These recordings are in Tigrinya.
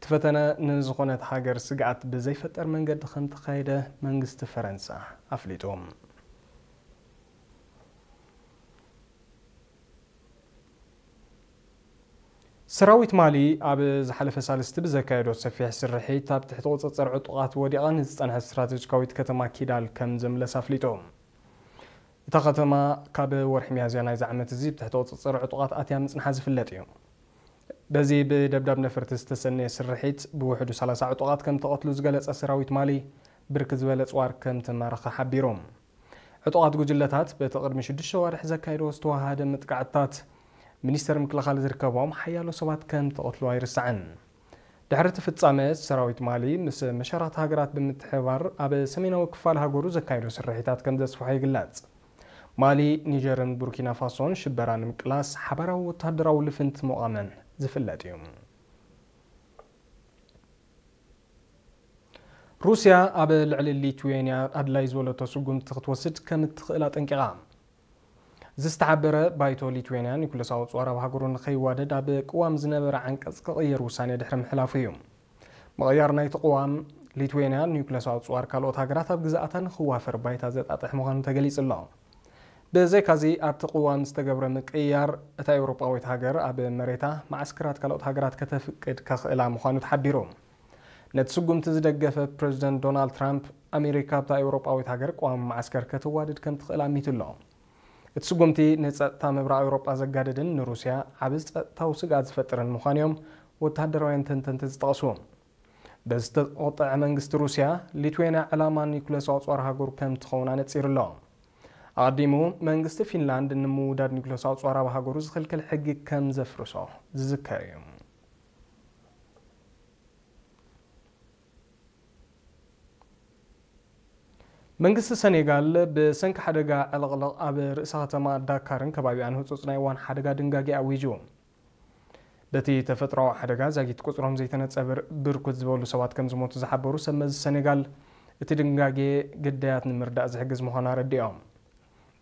ፈተነ ንዝኾነት ሃገር ስግኣት ብዘይፈጠር መንገዲ ከም ተኻየደ መንግስቲ ፈረንሳ ኣፍሊጡ። ሰራዊት ማሊ ኣብ ዝሓለፈ ሳልስቲ ብዘካየዶ ሰፊሕ ስርሒት ኣብ ትሕቲ ቁጽጽር ዕጡቓት ወዲቓ ንዝጸንሐት ስትራቴጂካዊት ከተማ ኪዳል ከም ዘምለስ ኣፍሊጡ። እታ ከተማ ካብ ወርሒ ሚያዝያ ናይዚ ዓመት እዚ ብትሕቲ ቁጽጽር ዕጡቓት ኣትያ ምጽንሓ ዝፍለጥ እዩ። በዚ ብደብዳብ ነፈርቲ ዝተሰነየ ስርሒት ብውሕዱ ሰላሳ ዕጡቓት ከም ተቐትሉ ዝገለጸ ሰራዊት ማሊ፣ ብርክ ዝበለ ጽዋር ከም ተማረኸ ሓቢሩ። ዕጡቓት ጉጅለታት በቲ ቅድሚ ሽዱሽተ ዋርሕ ዘካየድዎ ዝተዋሃደ መጥቃዕትታት፣ ሚኒስተር ምክልኻል ዝርከቦም ሓያሎ ሰባት ከም ተቐትሉ ኣይርሳዕን። ድሕሪ እቲ ፍጻመ፣ ሰራዊት ማሊ ምስ መሻርኽቲ ሃገራት ብምትሕብባር ኣብ ሰሜናዊ ክፋል ሃገሩ ዘካየዶ ስርሒታት ከም ዘስፍሖ ይግለጽ። ማሊ፣ ኒጀርን ቡርኪና ፋሶን ሽበራ ንምቅላስ ሓባራዊ ወተሃደራዊ ልፍንቲ ምቋመን ዝፍለጥ እዩ። ሩስያ ኣብ ልዕሊ ሊትዌንያ ኣድላይ ዝበለቶ ስጉምቲ ክትወስድ ከም እትኽእል ኣጠንቂቓ። ዝተሓበረ ባይቶ ሊትዌንያ ኒኩለሳዊ ጽዋር ኣብ ሃገሩ ንኸይዋደድ ኣብ ቅዋም ዝነበረ ዓንቀጽ ክቕየር ውሳኔ ድሕሪ ምሕላፉ እዩ። ምቕያር ናይቲ ቅዋም፣ ሊትዌንያ ኒኩለሳዊ ጽዋር ካልኦት ሃገራት ኣብ ግዛኣታ ንኽዋፈር ባይታ ዘጣጥሕ ምዃኑ ተገሊጹ ኣሎ። ብዘይካዚ፣ ኣብቲ ቅዋም ዝተገብረ ምቅያር፣ እታ ኤውሮጳዊት ሃገር ኣብ መሬታ መዓስከራት ካልኦት ሃገራት ከተፍቅድ ከኽእላ ምዃኑ ተሓቢሩ። ነቲ ስጉምቲ ዝደገፈ ፕረዚደንት ዶናልድ ትራምፕ፣ ኣሜሪካ ኣብታ ኤውሮጳዊት ሃገር ቅዋም መዓስከር ከተዋድድ ከም ትኽእል ኣሚቱ ኣሎ። እቲ ስጉምቲ ንጸጥታ ምብራቕ ኤውሮጳ ዘጋድድን ንሩስያ ዓቢ ጸጥታዊ ስግኣት ዝፈጥርን ምዃኑ እዮም ወተሃደራውያን ተንተንቲ ዝጠቕሱ። በዚ ዝተቖጥዐ መንግስቲ ሩስያ፣ ሊትዌንያ ዕላማ ኒኩለሳዊ ጸዋር ሃገሩ ከም ትኸውን ኣነጺሩ ኣሎ። ኣቐዲሙ፣ መንግስቲ ፊንላንድ ንምውዳድ ኒኩለሳዊ ጸዋር ኣብ ሃገሩ ዝኽልክል ሕጊ ከም ዘፍርሶ ዝዝከር እዩ። መንግስቲ ሰኔጋል ብሰንኪ ሓደጋ ዕልቕልቕ ኣብ ርእሰ ከተማ ዳካርን ከባቢኣን ህጹጽ ናይ እዋን ሓደጋ ድንጋጌ ኣዊጁ። በቲ ተፈጥሮኣዊ ሓደጋ ዛጊት ቁጽሮም ዘይተነጸበ ብርኩት ዝበሉ ሰባት ከም ዝሞቱ ዝሓበሩ ሰብ መዚ ሰኔጋል፣ እቲ ድንጋጌ ግዳያት ንምርዳእ ዝሕግዝ ምዃኑ ኣረዲኦም።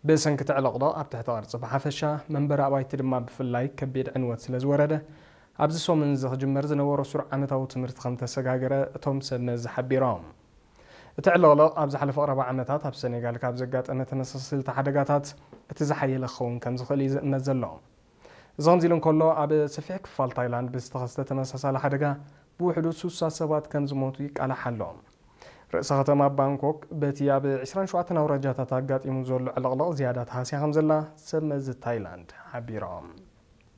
ብሰንኪ እቲ ዕልቕልቕ ኣብ ትሕቲ ቅርጺ ብሓፈሻ፣ መንበሪ ኣባይቲ ድማ ብፍላይ ከቢድ ዕንወት ስለ ዝወረደ፣ ኣብዚ ሰሙን እዚ ክጅመር ዝነበሮ ስሩዕ ዓመታዊ ትምህርቲ ከም ተሰጋገረ እቶም ሰብ መዚ ሓቢሮም። እቲ ዕልቕልቕ ኣብ ዝሓለፈ ቀረባ ዓመታት ኣብ ሰኔጋል ካብ ዘጋጠመ ተመሳሰልቲ ሓደጋታት እቲ ዝሓየለ ክኸውን ከም ዝኽእል እዩ ዝእመት ዘሎ። እዚ ከምዚ ኢሉ እንከሎ፣ ኣብ ሰፊሕ ክፋል ታይላንድ ብዝተኸስተ ተመሳሳሊ ሓደጋ ብውሕዱ ስሳ ሰባት ከም ዝሞቱ ይቃላሕ ኣሎ። ርእሰ ከተማ ባንኮክ በቲ ኣብ ዕስራን ሸውዓተን ኣውራጃታት ኣጋጢሙ ዘሎ ዕልቕልቕ ዝያዳ ተሃስያ ከም ዘላ ሰብ መዚ ታይላንድ ሓቢሮም።